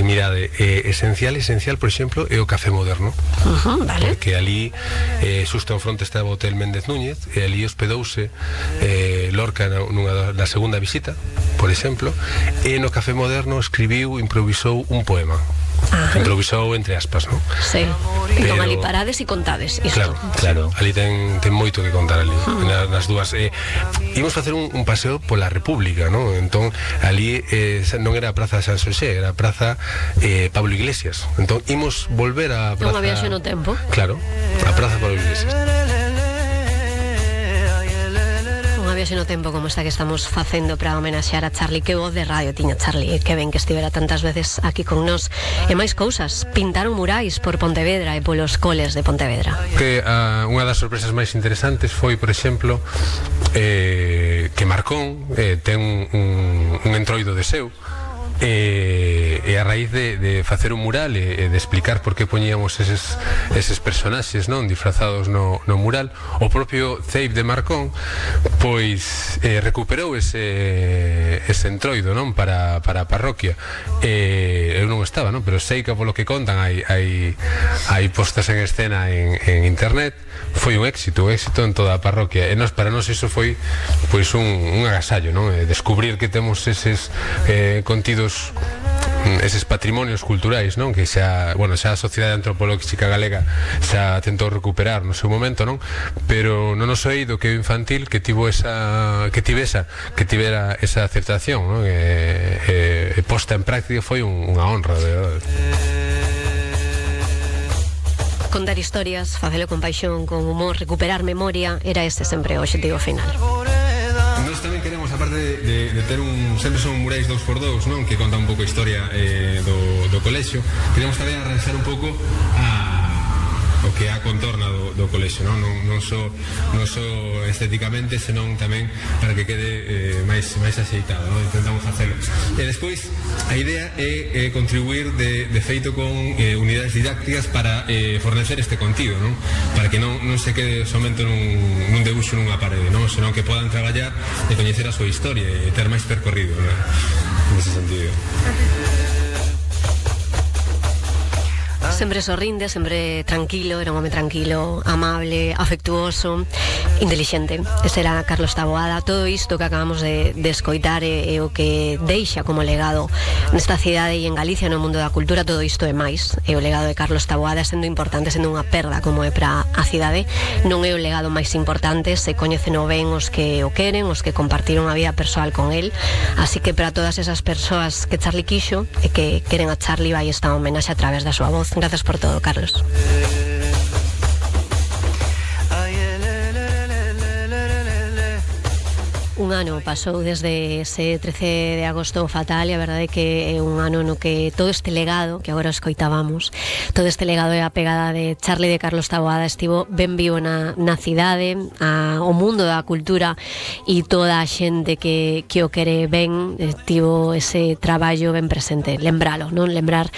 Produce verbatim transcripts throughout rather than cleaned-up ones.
Pois mirade, eh, esencial, esencial, por exemplo, é o Café Moderno. Uh-huh, vale. Porque ali, eh, xusto ao fronte estaba o Hotel Méndez Núñez, e ali hospedouse eh, Lorca nunha da segunda visita, por exemplo, e no Café Moderno escribiu, improvisou un poema. Ajá. Improvisou entre aspas, non? Sí. Pero... Entón ali parades e contades isto. Claro, claro. Ali ten, ten moito que contar ali, uh-huh. nas, nas dúas. Eh, imos facer un, un paseo pola República, non? Entón, ali eh, non era a Praza de San Xosé, era a Praza eh, Pablo Iglesias. Entón, imos volver a Praza... Unha viaxe no tempo. Claro, a Praza Pablo Iglesias. Viaxe no tempo como esta que estamos facendo para homenaxear a Charlie. Que voz de radio tiña Charlie, que ben que estivera tantas veces aquí con nós. E máis cousas, pintaron murais por Pontevedra e polos coles de Pontevedra. Que uh, unha das sorpresas máis interesantes foi, por exemplo, eh, que Marcón eh, ten un, un entroido de seu, e, e a raíz de, de facer un mural e, e de explicar por que poñíamos eses, eses personaxes, non, disfrazados no, no mural, o propio Ceib de Marcón pois eh, recuperou ese, ese entroido, non, para, para a parroquia. E eu non estaba, non, pero sei que polo que contan hai, hai, hai postas en escena en, en internet. Foi un éxito, un éxito en toda a parroquia, e nos, para nós iso foi pois un, un agasallo, non? Descubrir que temos eses eh, contidos, eses patrimonios culturais, non? Que xa, bueno, xa a Sociedade Antropolóxica Galega xa tentou recuperar no seu momento, non? Pero non nos oído que o infantil que tivo esa que tivesa, que tivera esa aceptación, non? E, e, e posta en práctica foi un, unha honra, de verdade. Contar historias, facelo con paixón, con humor, recuperar memoria, era ese sempre o objetivo final. Nós tamén queremos, aparte de, de, de ter un... Sempre son murais dous por dous, non? Que conta un pouco a historia eh, do, do colexio. Queremos tamén arranxar un pouco a... o que a contorna do, do colexio, non? Non, non, só, non só estéticamente, senón tamén para que quede eh, máis, máis axeitado, non? Intentamos facelo. E despois, a idea é, é contribuir de, de feito con eh, unidades didácticas para eh, fornecer este contido, non? Para que non, non se quede somente nun, nun debuxo nunha parede, non? Senón que podan traballar e coñecer a súa historia e ter máis percorrido, non? Nese sentido. Sempre sorrinde, sempre tranquilo, era un home tranquilo, amable, afectuoso, intelixente. Ese era Carlos Taboada. Todo isto que acabamos de, de escoitar é, é o que deixa como legado nesta cidade e en Galicia, no mundo da cultura. Todo isto é máis. É o legado de Carlos Taboada, sendo importante, sendo unha perda como é para a cidade. Non é o legado máis importante, se coñecen o ben os que o queren, os que compartiron a vida persoal con el. Así que para todas esas persoas que Charlie quixo e que queren a Charlie, vai esta homenaxe a través da súa voz. Gracias por todo, Carlos. Un ano pasou desde ese trece de agosto fatal, e a verdade é que é un ano no que todo este legado que agora escoitábamos, todo este legado e a pegada de Charlie de Carlos Taboada estivo ben vivo na, na cidade, a, o mundo da cultura e toda a xente que, que o quere ben, tivo ese traballo ben presente. Lembralo, non? Lembrar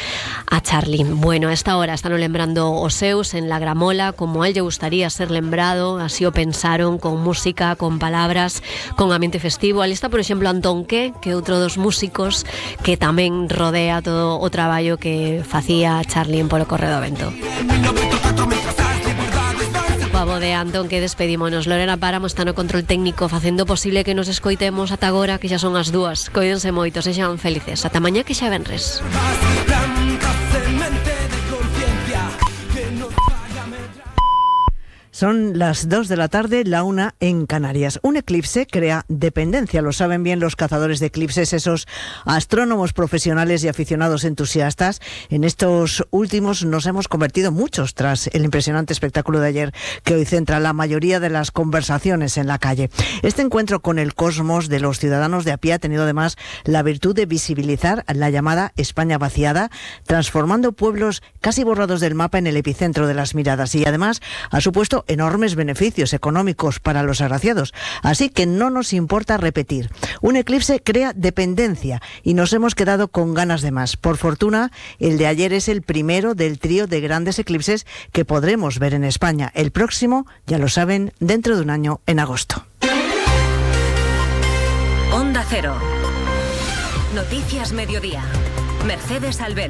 a Charlie. Bueno, a esta hora están lembrando os seus en La Gramola, como a él lle gustaría ser lembrado, así o pensaron, con música, con palabras, con ambiente festivo. Ali está, por exemplo, Antón Que, que é outro dos músicos que tamén rodea todo o traballo que facía Charlie en Polo Correo do Vento. Pavo de Antón Que, despedímonos. Lorena Páramo está no control técnico facendo posible que nos escoitemos ata agora, que xa son as dúas. Coídense moito, sexan felices. Ata mañá, que xa venres. Son las dos de la tarde, la una en Canarias. Un eclipse crea dependencia, lo saben bien los cazadores de eclipses, esos astrónomos profesionales y aficionados entusiastas. En estos últimos nos hemos convertido muchos tras el impresionante espectáculo de ayer, que hoy centra la mayoría de las conversaciones en la calle. Este encuentro con el cosmos de los ciudadanos de a pie ha tenido además la virtud de visibilizar la llamada España vaciada, transformando pueblos casi borrados del mapa en el epicentro de las miradas, y además ha supuesto enormes beneficios económicos para los agraciados. Así que no nos importa repetir. Un eclipse crea dependencia y nos hemos quedado con ganas de más. Por fortuna, el de ayer es el primero del trío de grandes eclipses que podremos ver en España. El próximo, ya lo saben, dentro de un año, en agosto. Onda Cero. Noticias Mediodía. Mercedes Albén.